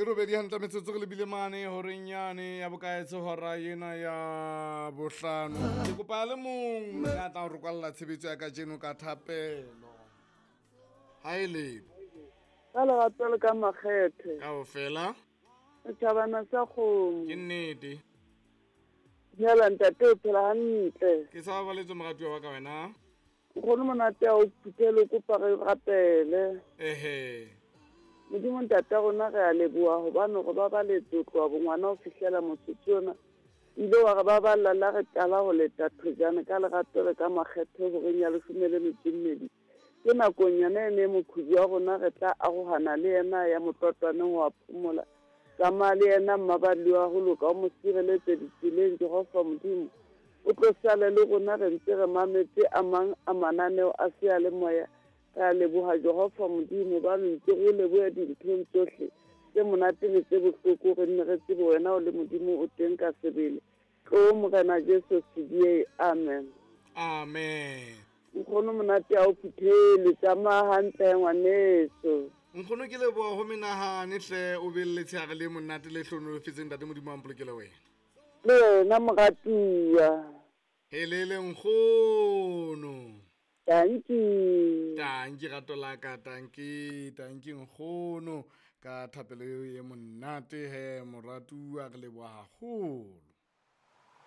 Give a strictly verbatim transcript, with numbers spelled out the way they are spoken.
robedi hantle metsotso re lebile mane horeng yane ya bokaetse hora ena ya bohlano. Ke kopa le mong ya tla re kwalla tshebetso ya kajeno ka thapelo. Ha e le Ka lerato le ka makgethe. Kaofela. Setjhabana sa kgomo. Ke nnete. Dumela ntate, o phela hantle. Ke sa babaletswe moratuwa wa ka wena. Nkgono monate a o phuthele, o kopa re rapele. Ehe. Modimo ntate wa rona re a leboha hobane re babaletse ho tloha bongwana ho fihlela motsotso ona. Ile wa re baballa la re qala ho leta thojane ka lerato le ka makgethe horeng ya leshome le metso e mmedi. Ke nakong yona e ne moqhubu wa rona re tla arohana le yena ya motlwatlwaneng ho a phomola. Tsamaya le yena mmaballi wa ho loka, o mo sireletse ditseleng Jehova Modimo. O tlo sale le rona re ntse re mametse a mang a mananeo a seyalemoya. Re a leboha Jehova Modimo ba ntse re o lebohe dinthong tsohle tse monate le tse bohloko, re nne re tsebe wena o le Modimo o teng ka sebele. Tlo Morena Jesu C D A, amen. Amen. Nkgono monate a o phuthele, tsamaya hantle ngwaneso. Nkgono ke leboha ho menahane hle, o be le letshehare le monate le hlohonolofetseng ntate Modimo a mpolokele wena. Le wena moratuwa. Helele nkgono. Tanki. Tanki rato la ka, tanki, tanki nkgono ka thapelo eo e monate he moratuwa, re leboha haholo.